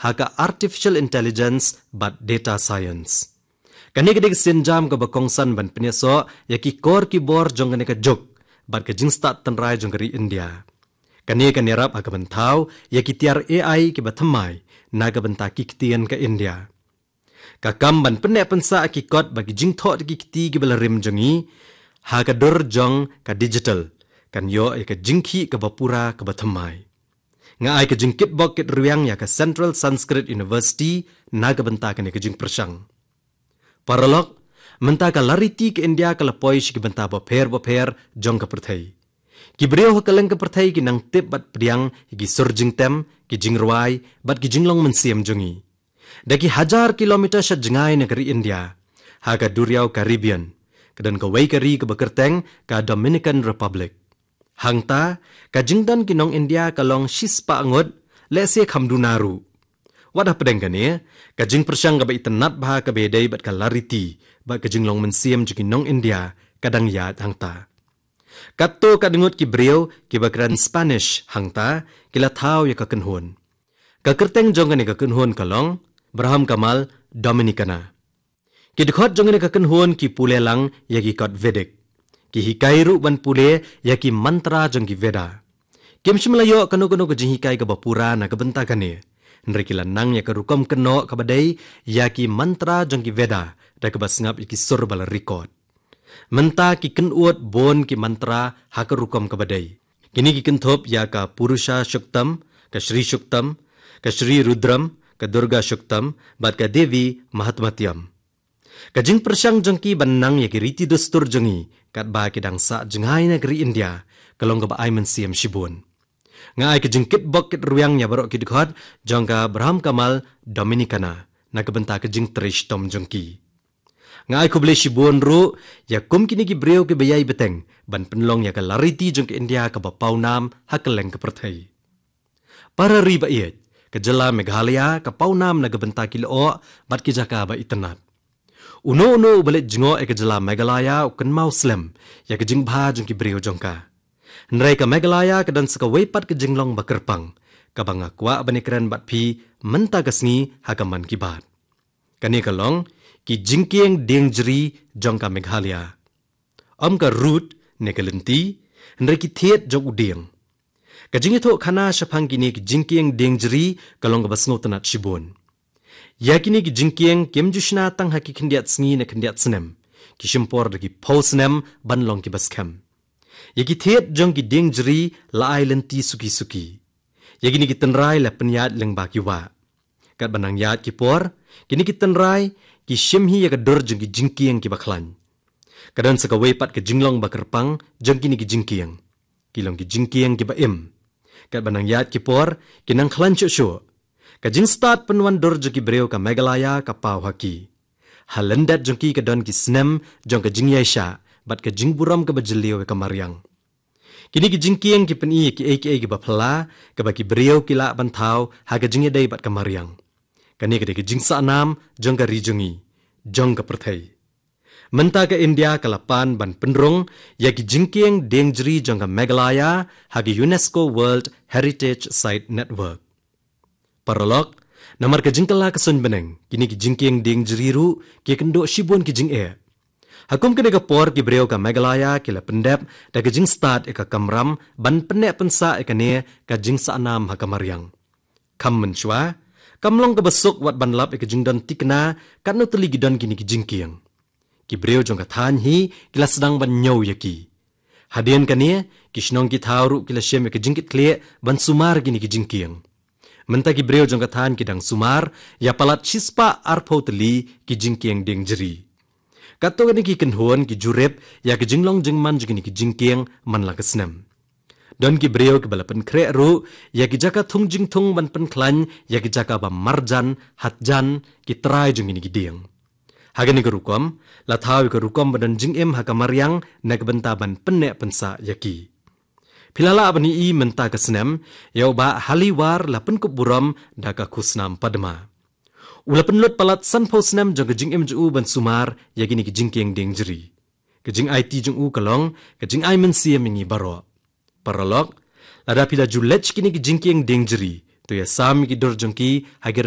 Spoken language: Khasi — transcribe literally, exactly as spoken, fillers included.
ha ka artificial intelligence bad data science. Kane ka dei ka sienjam kaba kongsan ban pynïasoh ïa ki kor ki bor jong kane ka juk bad ka jingstad tynrai jong ka ri India. Kane kan ïarap ha ka ban thaw ïa ki tiar A I kiba thymmai na ka bynta ki ktien ka India. Ka kam ban pynneh pynsah ïa ki kot bad ki jingthoh da ki kti kiba la rim jong ngi ha ka dur jong ka digital kan ïoh ïa ka jingkhih kaba pura kaba thymmai. Nga ai ka jingkitbok kitrwiang ïa ka Central Sanskrit University na ka bynta kane ka jingpyrshang. Paralok, mynta ka lariti ka India ka la poi sha ki bynta bapher bapher jong ka pyrthei. Ki briew ha kylleng ka pyrthei ki nang tip bad pdiang ïa ki sur jingtem, ki jingrwai bad ki jinglong mynsiem jong ngi. Da ki hajar kilometer sha jngai na ka ri India, ha ka duriaw Caribbean, ka don kawei ka ri kaba kyrteng ka Dominican Republic. Hangta, ka jingdon ki nong India ka long shispah ngut, lehse kham duna ruh. Wat hapdeng kane, ka jingpyrshang kaba itynnad bha kaba ïadei bad ka lariti bad ka jinglong mynsiem jong ki nong India ka dang ïaid hangta. Katto katne ngut ki briew kiba kren Spanish hangta ki la thaw ïa ka kynhun. Ka kyrteng jong kane ka kynhun ka long Braham Kamal Dominicana. Ki dkhot jong kane ka kynhun ki pule lang ïa ki kot Vedic. Ki hikai ruh ban pule ïa ki mantra jong ki Veda. Kim shym la ïoh kano kano ka jinghikai kaba pura na ka bynta kane. Hynrei ki la nang ïa ka rukom kynnoh kaba dei ïa ki mantra jong ki Veda da kaba sngap ïa ki sur ba la record. Mynta ki kynnoh bun ki mantra ha ka rukom kaba dei. Kine ki kynthup ïa ka Purusha Suktam, ka Sri Suktam, ka Sri Rudram, ka Durga Suktam bad ka Devi Mahatmyam. Ka jingpyrshang jong ki ban nang ïa ki riti dustur jong ngi katba ki dang sah jngai na ka ri India ka long kaba ai mynsiem shibun. Nga ai ka jingkitbok kitrwiang ïa baroh ki dkhot jong ka Braham Kamal Dominicana na ka bynta ka jingtrei shitom jong ki. Nga ai khublei shibun ruh ïa kum kine ki briew kiba ïai bteng ban pynlong ïa ka lariti jong ka India kaba pawnam ha kylleng ka pyrthei. Para ri ba ïeit, ka jylla Meghalaya ka pawnam na ka bynta ki lyoh bad ki jaka ba itynnad. Uno uno uba leit jngoh ïa ka jylla Meghalaya u kynmaw slem ïa ka jingbha jong ki briew jong ka. Hynrei ka Meghalaya ka don sa kawei pat ka jinglong ba kyrpang kaba nga kwah ban ïakren bad phi mynta ka sngi ha ka Mann Ki Baat. Kane ka long ki jingkieng dieng jri jong ka Meghalaya. Ym ka rud ne ka lynti, hynrei ki thied jong u dieng. Ka jingïathuh khana shaphang kine ki jingkieng dieng jri ka long kaba sngewtynnad shibun. Ïa kine ki jingkieng kim ju shna tang ha ki khyndiat sngi ne khyndiat snem. Ki shim por da ki phew snem ban long kiba skhem. Ïa ki thied jong ki dieng jri la ai lynti suki suki. Ïa kine ki tynrai la pynïaid lyngba ki wah. Katba nang ïaid ki por, kine ki tynrai ki shim hi ïa ka dur jong ki jingkieng kiba khlaiñ. Ka don sa kawei pat ka jinglong ba kyrpang jong kine ki jingkieng. Ki long ki jingkieng kiba im. Katba nang ïaid ki por, ki nang khlaiñ shuh shuh. Ka jingstad pynwandur jong ki briew ka Meghalaya ka paw ha ki. Ha lyndet jong ki ka don ki snem jong ka jingïaishah bad ka jingburom kaba jylliew ïa ka mariang. Kine ki jingkieng ki pyni ïa kiei kiei kiba phylla kaba ki briew ki lah ban thaw ha ka jingïadei bad ka mariang. Kane ka dei ka jingsahnam jong ka ri jong ngi, jong ka pyrthei. Mynta ka India ka la pan ban pynrung ïa ki jingkieng dieng jri jong ka Meghalaya ha ka UNESCO World Heritage Site Network. Paralok, namar ka jingkylla ka suiñ bneng, kine ki jingkieng dieng jri ruh ki kynduh shibun ki jingeh. Ha kum kane ka por ki briew ka Meghalaya ki la pyndep da ka jingstad ïa ka kamram ban pynneh pynsah ïa kane ka jingsahnam ha ka mariang. Kham mynshuwa, kam long kaba suk wat ban lap ïa ka jingdon thikna katno tylli ki don kine ki jingkieng. Ki briew jong ka thaiñ hi ki la sdang ban ñiew ïa ki. Hadien kane, ki shnong ki thaw ruh ki la shim ïa ka jingkitkhlieh ban sumar kine ki jingkieng. Mynta ki briew jong ka thaiñ ki dang sumar ïa palat shispah arphew tylli ki jingkieng dieng jri. Katto katne ki kynhun ki jurip ïa ka jinglong jingman jong kine ki jingkieng man la ka snem. Don ki briew kiba la pynkhreh ruh ïa ki jaka thung jingthung ban pynkhlaiñ ïa ki jaka ba marjan, hatjan, ki trai jong kine ki dieng. Ha kane ka rukom, la thaw ïa ka rukom ba don jingim ha ka mariang na ka bynta ban pynneh pynsah ïa ki. Phi la lah ban ïohi mynta ka snem, ïa u Bah Haliwar la pynkup burom da ka khusnam Padma. U la pynlut palat sanphew snem jong ka jingim jong u ban sumar ïa kine ki jingkieng dieng jri. Ka jingaiti jong u ka long ka jingai mynsiem ïa ngi baroh. Paralok, lada phi la ju leit sha kine ki jingkieng dieng jri, To ïasam ïa ki dur jong ki ha ki